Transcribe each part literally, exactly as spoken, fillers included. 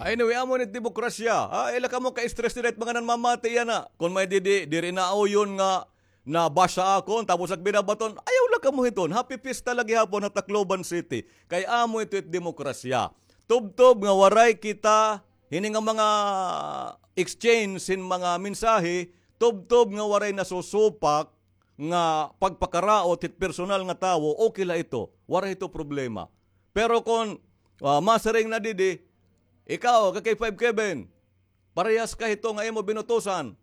Anyway, amo ni demokrasya. Ha? Ayaw la kamo ka-stress dida it mga nanmamati yana. Kon may didi, diri na uyon nga nabasa akon, tapos nagbinabaton, ayaw la kamo hiton. Happy Fiesta la gihapon ha Tacloban City. Kay amo ito it demokrasya. Tubtob nga waray kita, hini nga mga exchange hin mga mensahe, tubtob nga waray nasusupak nga pagpakaraot hit personal nga tawo, okay la ito. Waray ito problema. Pero kon, ah, masiring na didi, ikaw, ka K five Kevin, parehas ka hito nga imo binutusan.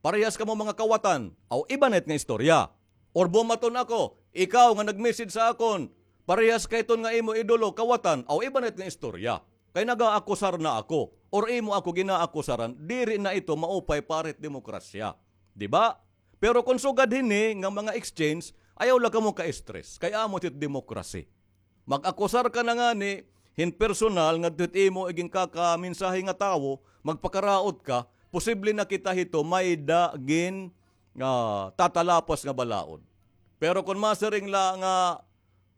Parehas kamo mga kawatan. Aw, iba na it nga istorya. Or bumaton ako, ikaw nga nag-message sa akon, parehas ka hiton nga imo idolo, kawatan. Aw, iba na it nga istorya. Kay nagaakusar na ako, or imo ako ginaakusaran, diri na ito maupay para hit demokrasya. Di ba? Pero kon sugad hini nga mga exchange, ayaw la kamo ka-stress. Kay amo ito it demokrasya. Mag-akusar ka na ngani hin personal ngadto hit imo iginkakamensahe nga tawo, magpakaraot ka, posible na kita hito may-ada gin, ah, tatalapas nga balaod. Pero kon masiring la nga,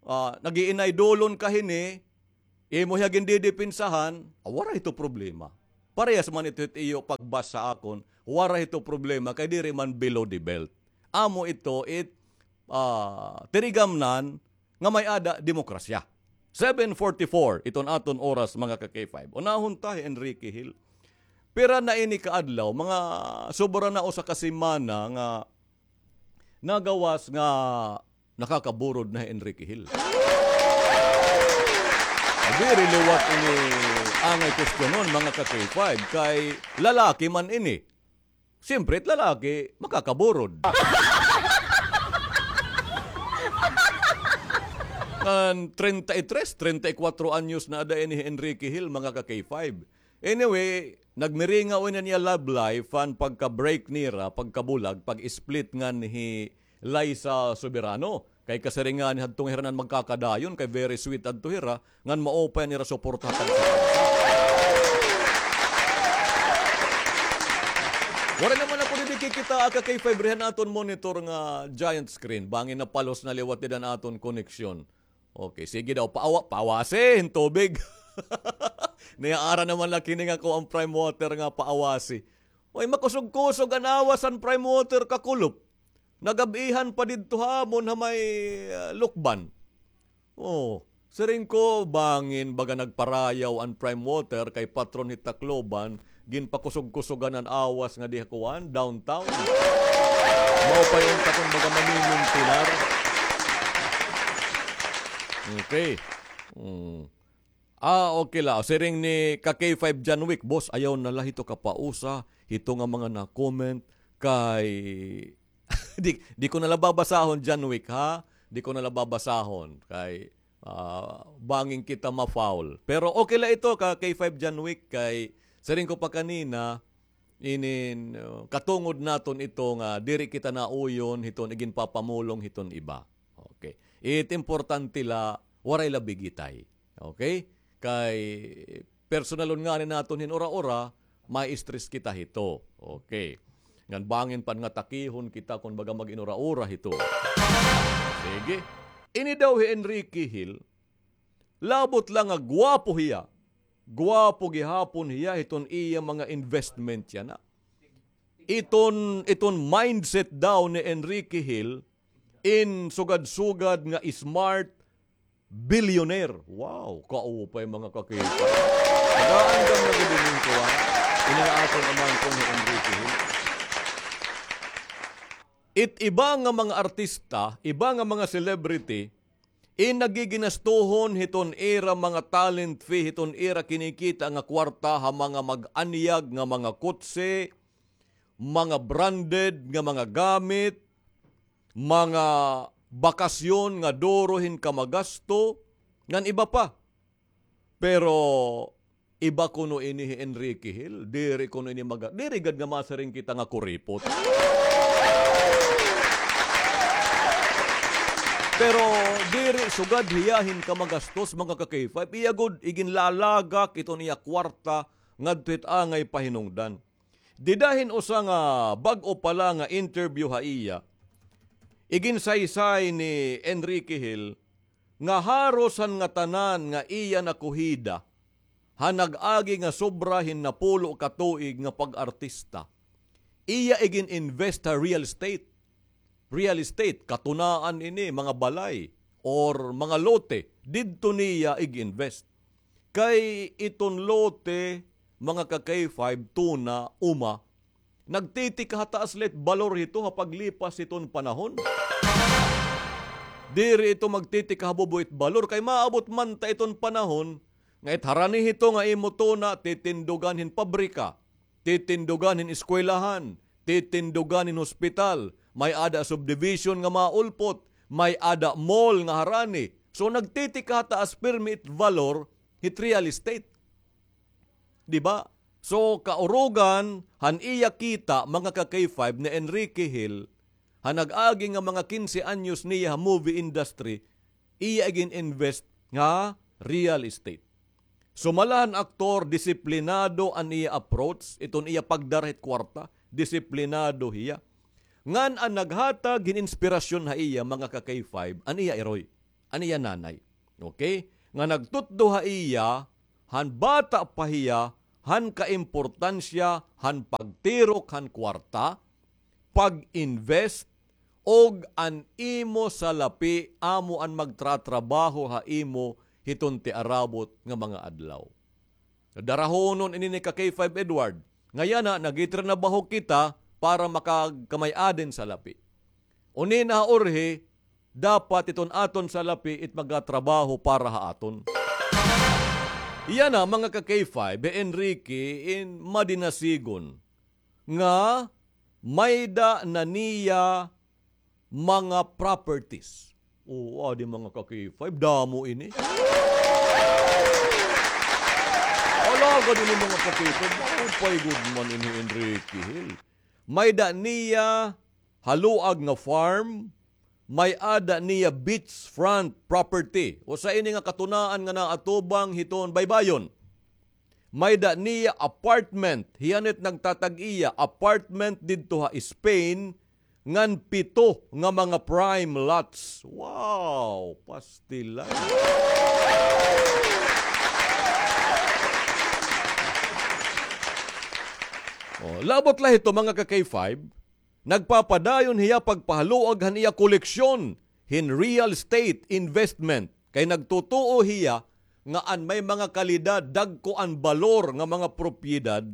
ah, nag-iinaydolon ka hini, imo hiya gindidepensahan, ah, waray ito problema. Parehas man ito hit iyo pagbasa akon, waray ito problema kay diri man below the belt. Amo ito it, ah, tinigamnan nga may-ada demokrasya. Seven forty-four, iton aton oras, mga ka-K five. Unahon ta hi Enrique Hill. Pira na ini ka adlaw, mga sobra na usa ka semana nga nagawas nga nakakaburod na hi Enrique Hill. Diri liwat ini angay kwestiyonon, mga ka-K five, kay lalaki man ini. Siyempre, it lalaki, makakaburod. Ngan treinta y tres, treinta y cuatro anyos na ada ini hi Enrique Hill, mga ka-K five. Anyway, nagmiringaw ini niya love life, han pagka-break nira, pagkabulag, pag-split ngan hi Liza Soberano. Kay kasiring ngani hadto nga hira nan magkakadayon, kay very sweet adto hira, ngan maupay an ira suporta ha tagsa. Waray naman ako didi kikita, ka K five, rihan aton monitor nga giant screen. Bangin napalos na liwat dida an aton koneksyon. Okay, sige daw, paawa-, paawasi hin tubig. Niyaara naman la kini nga kuan, Prime Water nga paawasi. Uy, makusog-kusog an awas han Prime Water, kakulop. Nagab-ihan pa didto ha amon ha may, ah, Lukban. Oh, siring ko, bangin baga nagparayaw an Prime Water kay patron hit Tacloban, ginpakusog-kusogan an awas ngadi ha kuan, downtown. Maupay unta kon baga mamimintinar. Okay. Hmm. Ah, okay la. Siring ni ka K five John Wick, "Boss, ayaw na la hito kapausa, hito nga mga na-comment kay," di, di ko na la babasahon, John Wick, ha? Di ko na la babasahon kay, ah, bangin kita ma-foul. Pero okay la ito, ka K five John Wick, kay siring ko pa kanina, inin, uh, katungod naton ito nga diri kita nauyon hiton iginpapamulong hiton iba. Okay. It importante la, waray la bigitay. Okay? Kay personalon ngani naton hin ura-ura, ma-stress kita hito. Okay. Ngan bangin pa nga takihon kita kon baga mag-inura-ura hito. Sige. Ini daw hi Enrique Hill, labot la nga gwapo hiya. Gwapo gihapon hiya hiton iya mga investment yana. Iton, iton mindset daw ni Enrique Hill, in sugad-sugad nga smart billionaire. Wow, kaupay, mga kakita. Nagaandam na gud ini kuan. Ini nga aton umangkon ni Enrique Hill. It iba nga mga artista, iba nga mga celebrity, in nagiginastuhon hiton ira mga talent fee, hiton ira kinikita nga kwarta ha mga mag-anyag nga mga kotse, mga branded nga mga gamit, mga bakasyon nga duro hin kamagasto, ngan iba pa. Pero iba kuno ini hi Enrique Hill, diri kuno ini maga-, diri gad nga masiring kita nga kuripot. Pero diri sugad hiya hin kamagastos, mga ka-K five, iya gud iginlalagak iton iya kwarta ngadto hit angay pahinungdan. Dida hin usa nga bag-o pa la nga interview ha iya, iginsaysay ni Enrique Hill nga haros han ngatanan nga iya nakuhida, han nag-agi nga sobra hin napulo ka tuig nga pag-artista, iya igin-invest ha real estate. Real estate, katunaan ini, mga balay, or mga lote, didto niya ig-invest. Kay iton lote, mga ka-K five, tuna, uma, nagtitikahataas la it balor hito ha paglipas hiton panahon. Diri ito magtitikahabo it balor, kay maabot man ta iton panahon nga it harani hito nga imo tuna, titindugan hin pabrika, titindugan hin eskwelahan, titindugan hin hospital, may-ada subdivision nga maulpot, may-ada mall nga harani. So, nagtitikahataas pirmi it valor hit real estate. Di ba? So, kaurugan han iya kita, mga ka-K five, ni Enrique Hill, han nag-agi nga mga kinse anyos niya ha movie industry, iya igin-invest nga real estate. Sumala han aktor, disiplinado an iya approach, iton iya pagdara hit kwarta, disiplinado hiya. Ngan an naghatag hin inspirasyon ha iya, mga ka-K five, an iya iroy, an iya nanay. Okay? Nga nagtutdo ha iya, han bata pa hiya, han kaimportansya han pagtirok han kwarta, pag-invest, ug an imo salapi amo an magtratrabaho ha imo hiton tiarabot nga mga adlaw. Darahonon ini ni ka-K five Edward. Nga yana, nagtitrinabaho kita para makagkamay-ada hin salapi. Uni na ha urhi, dapat iton aton salapi it magatrabaho para ha aton. Yana, mga ka-K five, hi Enrique in madinasigon nga may-ada na niya mga properties. Oo, adi, mga ka-K five, damo ini. Alagad ini, mga ka-K five, maupay gud man ini Enrique Hill. May-ada niya haluag nga farm, may-ada niya beachfront property. Usa ini nga katunaan nga naatubang hiton baybayon. May-ada niya apartment, hiya it nagtatag-iya, apartment didto ha Spain, ngan pito nga mga prime lots. Wow! Pastilan. Oh, labot la hito, mga ka-K five, nagpapadayon hiya pagpahaluag han iya koleksyon hin real estate investment. Kay nagtutuo hiya nga an may mga kalidad, dagko an balor nga mga propiedad,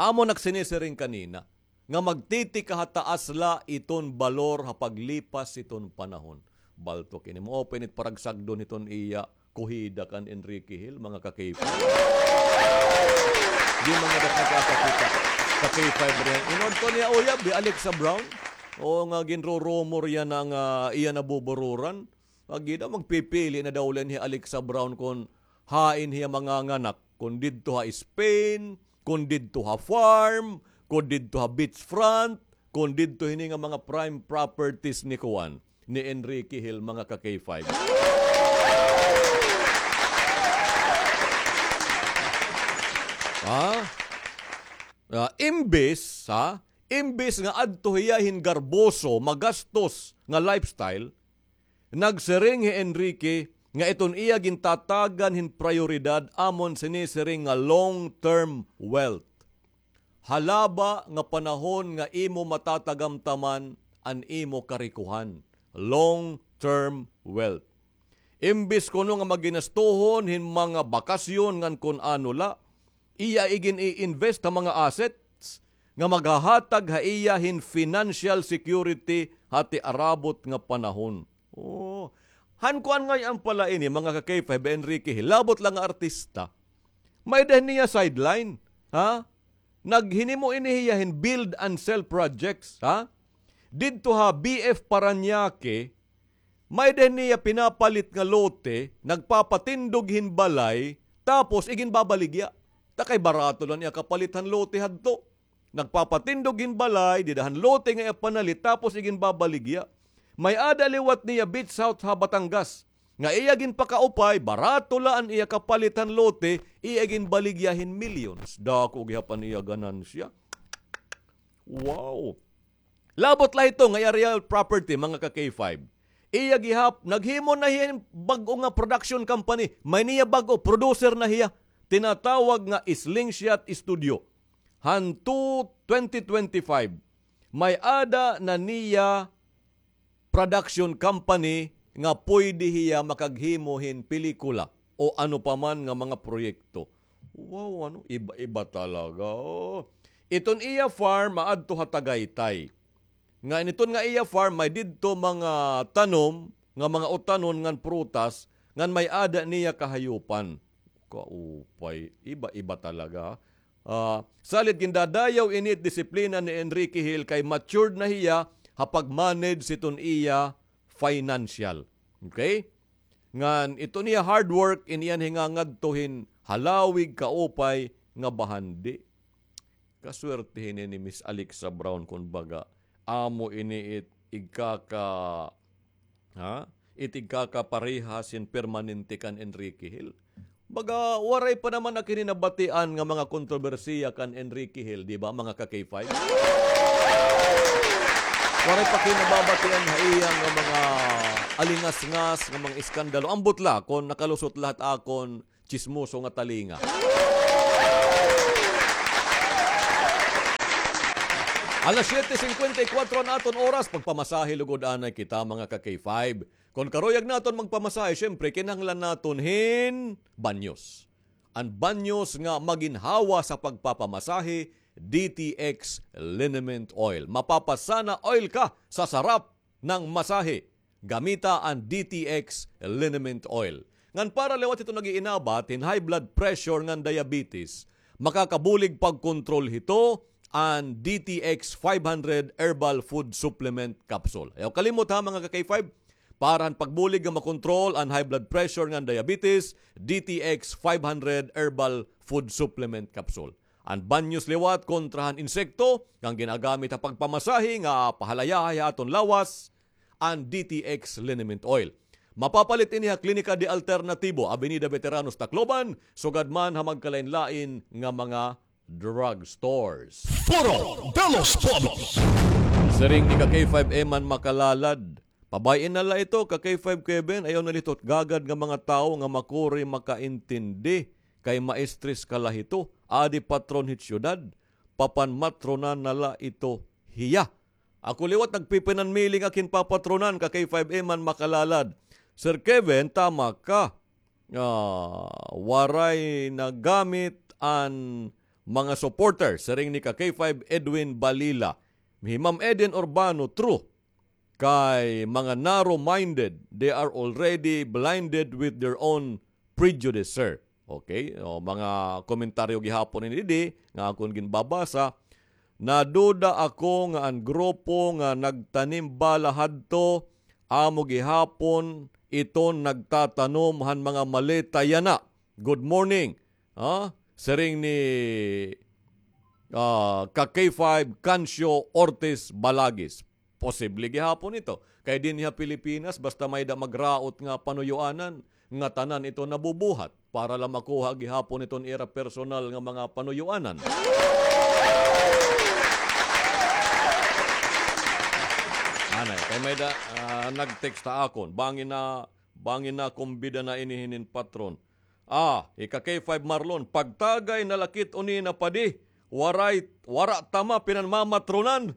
amo nak sinisiring kanina, nga magtitikahataas la iton balor ha paglipas hiton panahon. Baltok ini, maupay ini it paragsagdon hiton iya kuhida kan Enrique Hill, mga ka-K five. Di man nga dako nakakakita ka-K five riyan. Inadto niya uyab, hi Alexa Brown. Oo, nga ginrurumor yana nga iya nabubururan. Agi daw, magpipili na daw la ini hi Alexa Brown kon hain hiya manganganak, kon didto ha Spain, kon didto ha farm, kon didto ha beachfront, kon didto hini nga mga prime properties ni kuan, ni Enrique Hill, mga ka-K five. Ha? Ah, imbis, ha? Imbis nga adto hiya hin garboso, magastos nga lifestyle, nagsiring hi Enrique nga iton iya gintatagan hin prayoridad amon sinisiring nga long-term wealth. Halaba nga panahon nga imo matatagamtaman an imo karikohan, long-term wealth. Imbis kuno nga maginastohon hin mga bakasyon ngan kon ano la, iya igin-i-invest ha mga assets nga maghahatag ha iya hin financial security ha tiarabot nga panahon. Oh. Han kuan ngay-an pala ini, mga ka-K five, Enrique Hill, labot la nga artista. May-ada niya sideline, ha? Naghinimo ini hiya hin build and sell projects, ha? Didto ha B F Parañaque, may-ada niya pinapalit nga lote, nagpapatindog hin balay, tapos iginbabaligya. Ta kay barato la an iya kapalit han lote hadto. Nagpapatindog hin balay, dida han lote nga iya panalit, tapos iginbabaligya. May-ada liwat niya beach house ha Batangas. Nga iya ginpakaupay, barato la an iya kapalit han lote, iya ginbaligya hin millions. Dako gihap an iya ganansya. Wow! Labot la hito nga iya real property, mga ka-K five. Iya gihap, naghimo na hiya hin bag-o nga production company. May niya bag-o, producer na hiya. tinatawag nga Slingshot Studio. Hanto twenty twenty-five, may-ada na niya production company nga pwede hiya makaghimo hin pelikula o ano pa man nga mga proyekto. Wow, ano, iba-iba talaga. Iton iya farm maadto ha Tagaytay. Nga initon nga iya farm, may didto mga tanom nga mga utanon ngan prutas ngan may-ada niya kahayupan. Kaupay, iba-iba talaga. Ah, salit gindadayaw ini it disiplina ni Enrique Hill kay matured na hiya ha pag-manage hiton iya financial. Okay? Ngan iton iya hard work, in iya an hingangadto hin halawig kaupay nga bahandi. Kaswerte hini ni Miss Alexa Brown, kun baga. Amo ini it igkaka-, ha? It igkakaparehas hin permanente kan Enrique Hill. Baga, waray pa naman ak hini nabatian nga mga kontrobersiya kan Enrique Hill, di ba, mga ka-K five? Waray pa kini nababatian ha iya nga mga alingasngas, nga mga iskandalo. Ambot la, kon nakalusot la ha akon tsismoso nga talinga. Alas siyete singkwenta y kuwatro an aton oras, pagpamasahe lugod anay kita, mga ka-K five. Kon karuyag naton magpamasahe, siyempre, kinahanglan naton hin banyos. An banyos nga maginhawa sa pagpapamasahe, D T X Liniment Oil. Mapapasana oil ka sa sarap ng masahe. Gamita an D T X Liniment Oil. Ngan para liwat hito nag-iinabat hin high blood pressure ngan diabetes, makakabulig pagkontrol hito an D T X five hundred Herbal Food Supplement Capsule. Ayaw kalimot ha, mga ka-K five, para han pagbulig nga makontrol an high blood pressure ngan diabetes, D T X five hundred Herbal Food Supplement Capsule. An banyos liwat kontra han insekto, nga ginagamit ha pagpamasahe nga pahalayahay ha aton lawas, an D T X Liniment Oil. Mapapalit ini ha Klinika de Alternatibo, Avenida Veteranos, Tacloban, sugad man ha magkalain-lain nga mga drugstores. Foro de los Pueblos. Siring ni ka K five Eman Makalalad, pabay-i na la ito, ka K five Kevin, ayaw na la ito gagad nga mga tawo nga makuri makaintindi kay maestres ka la hito, adi patron hit syudad, papanmatronan na la ito hiya. Ako liwat nagpipinanmiling ak hin papatronan, ka K five Eman Makalalad. Sir Kevin, tama ka. Ah, waray na gamit an mga supporter, siring ni ka K five Edwin Balila. Hi Ma'am Eden Urbano, true. Kay mga narrow-minded, they are already blinded with their own prejudice, sir. Okay? O, mga komentaryo gihapon ini didi nga akon ginbabasa. Naduda ako nga an grupo nga nagtanim bala hadto, amo gihapon iton nagtatanom han mga maleta yana. Good morning. Ha? Siring ni, ah, ka K five Cancio Ortiz Balagis. Posible gihapon ito. Kay dinhi ha Pilipinas, basta may-da magraot nga panuyoanan, ngatanan ito nabubuhat para la makuha gihapon iton ira personal nga mga panuyoanan. Anay, kay may-da, ah, nag-text ha akon. Bangin na, bangin na kumbida na ini hinin patron. Ah, ika K five Marlon, pagtagay na la kit unina padi, waray, wara ta ma pinanmamatronan.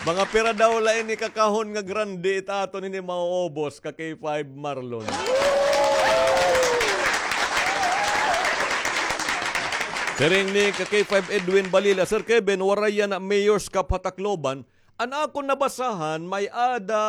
Mga pira daw la ini ka kahon nga grande it aton ini mauubos, ka K five Marlon. Siring ni ka K five Edwin Balila, Sir Kevin, waray yana Mayor's Cup ha Tacloban. An akon nabasahan, may-ada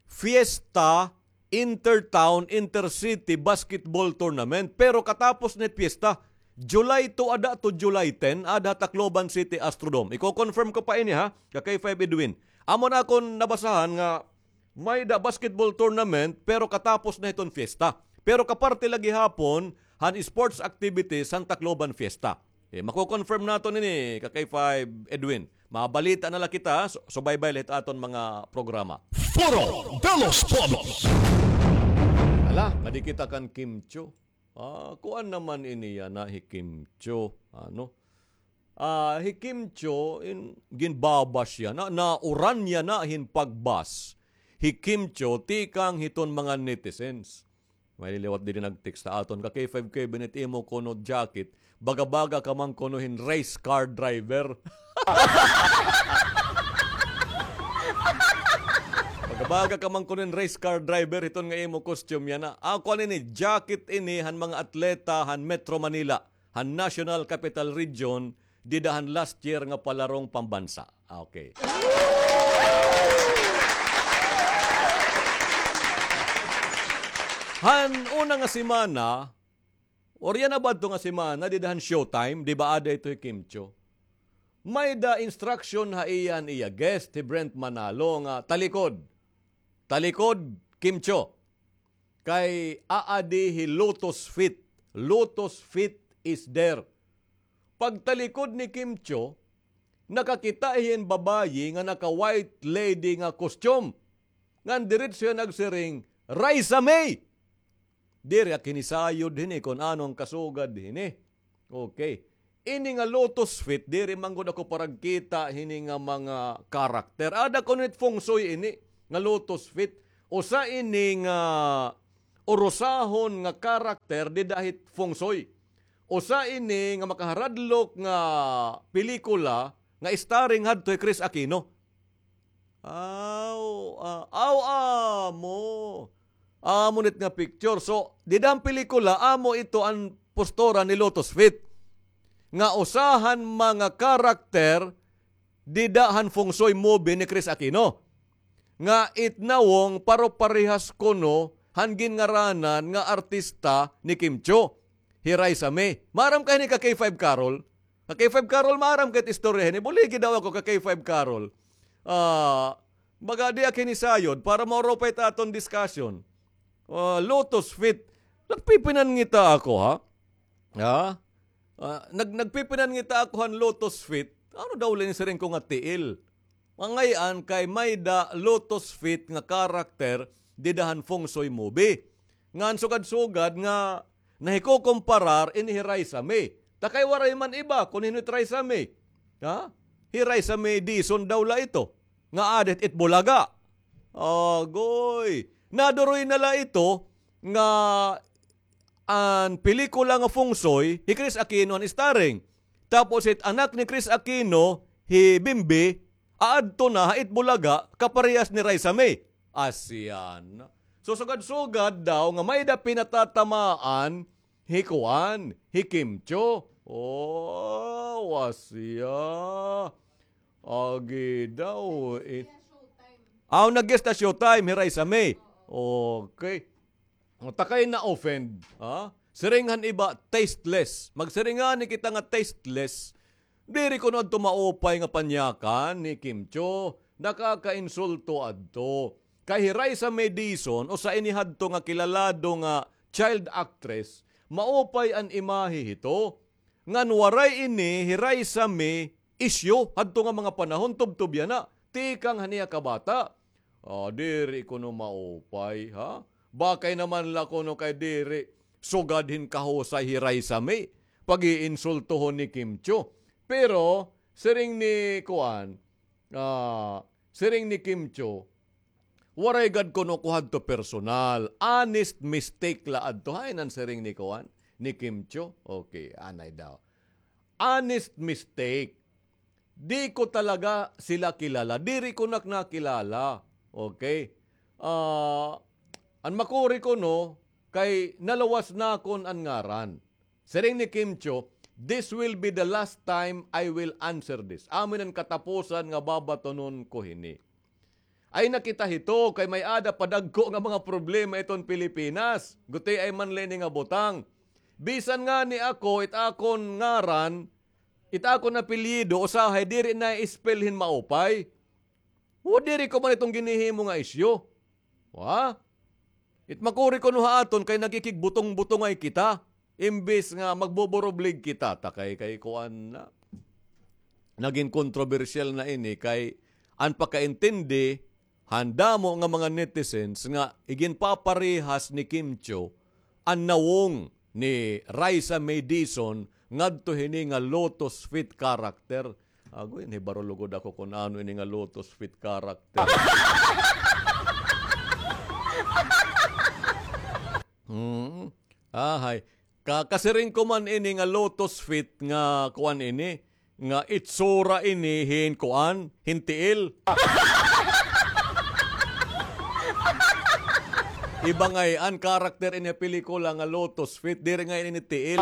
Fiesta, Intertown, Intercity Basketball Tournament, pero katapos na it fiesta, July two ada to July ten, ada ha Tacloban City Astrodome. Iko-confirm ko pa ini, ha, ka K five Edwin. Amo na akon nabasahan nga may-da basketball tournament, pero katapos na hiton fiesta. Pero kaparte la gihapon han sports activities han Tacloban Fiesta. Eh, mako-confirm naton ini, ka K five Edwin. Mabalita na la kita, su-, subaybay la hit aton mga programa. Foro de los Pueblos. Hala, ngadi kita kan Kim Chiu. Ah, kuan naman ini yana hi Kim Chiu. Ano? Ah, hi Kim Chiu, in, ginbabash yana, nauran yana hin pag-bash hi Kim Chiu tikang hiton mga netizens. May liwat diri nag-text ha aton, ka K five Kevin, it imo kuno jacket, baga-baga ka man kuno hin race car driver. Baga-baga ka man kuno hin race car driver, hiton nga imo costume yana. Ako ani ini, jacket ini han mga atleta han Metro Manila, han National Capital Region, dida han last year nga palarong pambansa. Okay. Han una nga semana, or yana ba adto nga semana, dida han Showtime, di ba, aada ito hi Kim Chiu? May-ada instruction ha iya an iya guest, hi Brent Manalo, nga talikod. Talikod, Kim Chiu. Kay aadi hi Lotus Fit. Lotus Fit is there. Pagtalikod ni Kim Chiu, nakakita hiya hin babayi nga naka-white lady nga costume. Ngan diretso hiya nagsiring, "Raisa May!" Diri ak hinisayod hini kon ano an kasugad hini. Okay. Ini nga Lotus Fit, diri man gud ako paragkita hini nga mga karakter. Aada kuno it feng shui ini nga Lotus Fit. Usa ini nga urusahon nga karakter dida hit feng shui. Usa ini nga makaharadlok nga pelikula nga starring hadto hi Chris Aquino. Aw, ah, aw, amo. Amo nit nga picture. So, dida han pelikula, amo ito an postura ni Lotus Fit. Nga usa han mga karakter dida han feng shui movie ni Chris Aquino. Nga it nawong paro-parehas kuno han ginngaranan nga artista ni Kim Chiu, hi Raisa May. Maaram ka hini ka K five Carol? Ka K five Carol, maaram ka it istorya hini? Buligi daw ako ka K five Carol. Ah, baga di ak hinisayod para maurupay it aton discussion. Ah, Lotus Fit. Nagpipinangita ako, ha? Ha? Ah, nag-, nagpipinangita ako han Lotus Fit. Ano daw la ini siring ko nga tiil? Mangay-an kay may-ada Lotus Fit nga karakter dida han feng shui movie. Ngan sugad-sugad nga nahikukumparar ini hi Raisa May. Ta kay waray man iba kun hin-o it Raisa May. Ha? Hi Raisa May Dizon daw la ito. Nga aada hit Bulaga. Agoy. Naduroy na la ito nga an pelikula nga Feng Shui, hi Chris Aquino an starring. Tapos it anak ni Chris Aquino, hi Bimbi, aadto na ha Itbulaga, kaparehas ni Raisa May. Asya na. So, sugad-sugad daw nga may-ada pinatatamaan, hi kuan, hi Kim Chiu. Oh, asya. Agi daw. Eh. Aw, nag-guest ha Showtime, hi Raisa May. Okay. O, ta kay na-offend, ha? Siring han iba, tasteless. Magsiring ngani kita nga tasteless. Diri kuno adto maupay nga panyakan ni Kim Chiu. Nakakainsulto adto. Kay hi Raisa May Dizon, usa ini hadto nga kilalado nga child actress, maupay an imahe hito. Ngan waray ini hi Raisa May isyu hadto nga mga panahon, tubtob yana. Tikang han iya kabata. Ah, diri kuno maupay, ha? Bakay naman la kuno kay diri sugad hin kahusay hi Raisa May pag-iinsultohon ni Kim Chiu. Pero siring ni kuan, ah, siring ni Kim Chiu, waray gad kuno ko hadto personal. Honest mistake la adto. Hain an siring ni kuan, ni Kim Chiu? Okay, anay daw. Honest mistake. Di ko talaga sila kilala. Diri ko na nakilala. Okay? Ah, an makuri kuno, kay naluwas nakon an ngaran. Siring ni Kim Chiu, "This will be the last time I will answer this." Amo ini an katapusan nga babatonon ko hini. Ay, nakita hito, kay may-ada pa dagko nga mga problema iton Pilipinas. Gutiay man la ini nga butang. Bisan ngani ako, it akon ngaran, it akon apelyido, usahay diri na i-spell hin maupay. O, diri ko man iton ginhihimo nga isyu. Wa? It makuri kuno ha aton kay nagkikigbutong-butongay kita. Imbis nga magbuburublig kita, ta kay, kay kuan na. Nagin kontrobersyal na ini kay an pakaintindi han damo nga mga netizens nga iginpaparehas ni Kim Chiu an nawong ni Raisa May Dizon ngadto hini nga Lotus Fit character. Agoy, nahibaro lugod ako kun ano ini nga Lotus Fit character. Ahay. Ka-, kasiring ko man ini nga Lotus Fit nga kuan ini, nga itsura ini hin kuan, hin tiil. Iba ngay-an karakter ini pelikula nga Lotus Fit, diri ngay-an ini tiil.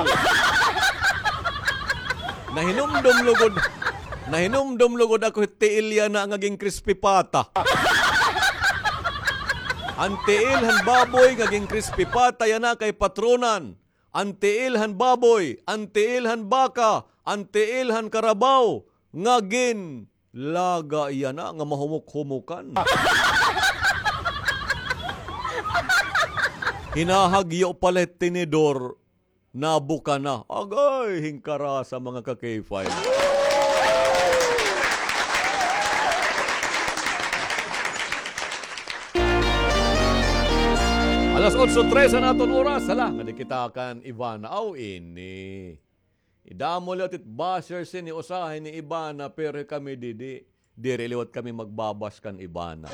Nahinumdom lugod, nahinumdom lugod ako hin tiil yana nga gin-crispy pata. An tiil han baboy nga gin-crispy pata yana kay patronan. An tiil han baboy, an tiil han baka, an tiil han karabaw, nga ginlaga yana nga mahumok-humokan. Hinahagyo pa la it tinidor, nabuka na. Agay, hin karasa, mga ka-K five. Alas otso tres an aton oras. Hala, nga di kita kan Ivana. Aw, ini. Idamo liwat it bashers ini, usahay ni Ivana, pero kami didi. Diri liwat kami magbabash kan Ivana.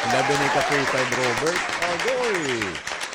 Labi ni ka-K five Robert. Agoy.